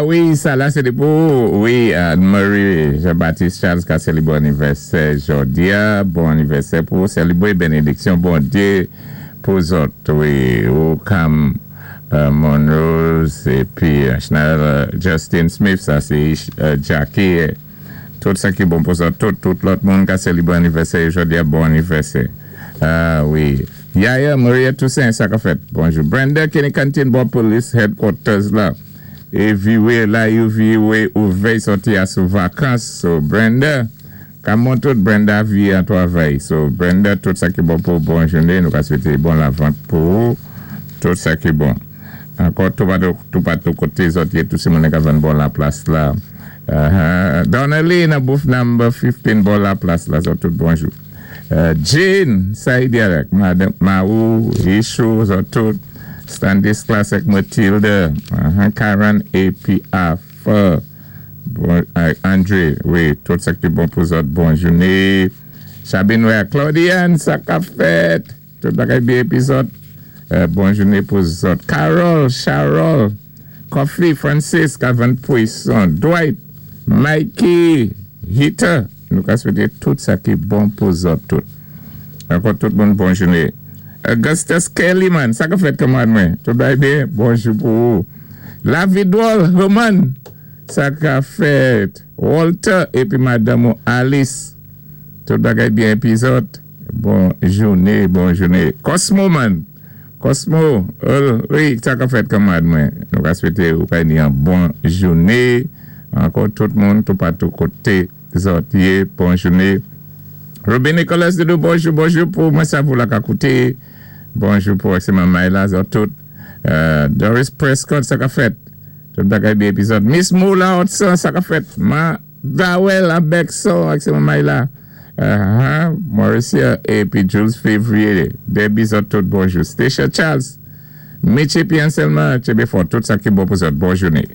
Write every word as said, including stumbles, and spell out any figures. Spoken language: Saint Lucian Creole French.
Wi, sa la sé pou, wi, Marie Jean-Baptiste Charles ka sélibwé anivèsè jòdi-a, bon anivèsè pou sélibwé bénédiksyon Bondyé pou zòt, wi, ou Cam Monrose, épi Chanel Justin Smith, sa sé Jackie, tout sa ki bon pou zòt, tout, tout lòt moun ka sélibwé anivèsè jòdi-a, bon anivèsè. Ah, wi. Yaya Maria Toussaint, sa ka fèt. Bonjou. Brenda Kenny Canteen, bò Police Headquarters la. É viwé la, yo viwé ouvè sòti asou vakans. So, Brenda, kanmon tout Brenda vi an twavay. So, Brenda, tout sa ki bon pou bon jouné. Nou ka swété bon lavant pou ou. Tout sa ki bon. Ankò, tout patou koté zòt yé, tout sé moun ka vann bò la plas la. Uh-huh. Donnelly nan booth number fifteen bò la plas la. So, tout bonjou. Uh, Jane, Saïdi avèk Madame Maou, Richou, zòt tout, Stanislas ak Mathilde, uh, Karen épi Arthur, bon, uh, André, wi, tout sa ki bon pou zòt, bon jouné. Sabine wè, Claudiane, sa ka fèt, tout bagay byen épi zòt, uh, bon jouné pou zòt. Carol, Charol, Coffee, Francis, Kavan Poisson, Dwight, Mikey, Hita, nou ka swété tout sa ki bon pou zòt tout. Ankò tout moun bon jouné. Augustus Kelly man, sa ka fèt kanmad mwen? Tout bagay byen, bonjou pou ou. La Vidwol, Roman, sa ka fèt. Walter, épi madame ou Alice. Tout bagay byen épi zòt. Bon jouné, bon jouné. Cosmo man, Cosmo, wi, sa ka fèt kanmad mwen? Nou ka swété ou ka ni an bon jouné. Ankò tout moun, tout patou koté zòt yé, bon jouné. Robin Nicolas Doudou, bonjou, bonjou pou mwen sa pou la ka kouté. Bonjou pou se mamay la, zòt tout. Doris Prescott, sa ka fèt? Tout bagay byen épi zòt. Miss Moula Hudson, sa ka fèt? Ma Dawel Abekson, ak se mamay la. Mauricia, épi Jules Février. Debbie zòt tout, bonjou. Stacia Charles, Mitchie Pian Selma, Chebe Fort, tout sa ki bon pou zòt, bon jouné.